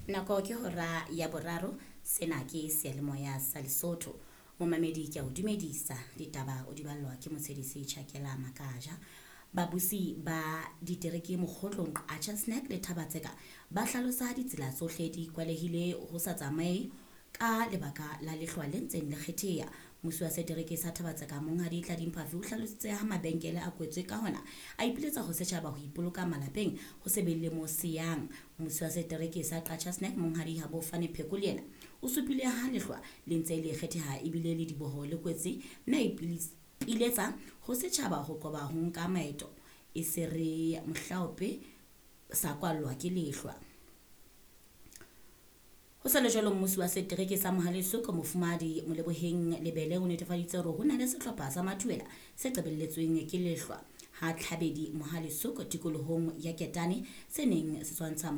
Nako ke hora ya boraro. Sena ke seyalemoya sa Lesotho. Momamedi, ke a o dumedisa. Ditaba o di ballwa ke Motshedisi Chakela Makaja. Babusi ba ditereke Mokgotlong, Qacha's Nek le Thaba-Tseka ba hlalosa ditsela tsohle di kwalehile ho sa tsamaye ka lebaka la lehlwa le ntseng le kgetheha. Mmusi wa setereke sa Thaba-Tseka, Monghadi Tladi Mphafi, o hlalositse ha mabenkele a kwetswe, ka hona a ipiletsa ho setjhaba ho ipoloka malapeng ho se be le mo seyang. Mmusi wa setereke sa Qacha's Nek, Monghadi Habofane Pheko, le yena o supile ha lehlwa le ntse le kgetheha ebile le diboho le kwetse, mme a ipiletsa ho setjhaba ho qoba ho nka maeto e se re mohlaope sa kwallwa ke lehlwa. Ho sa le jwalo, mmusi wa setereke sa Mohale's Hoek, Mofumahadi Moleboheng Lebele, o netefaditse hore ho na le sehlopha sa mathuela se qebelletsweng ke lehlwa ha Tlhabedi Mohale's Hoek tikolohong ya Ketane se neng se tshwantsha.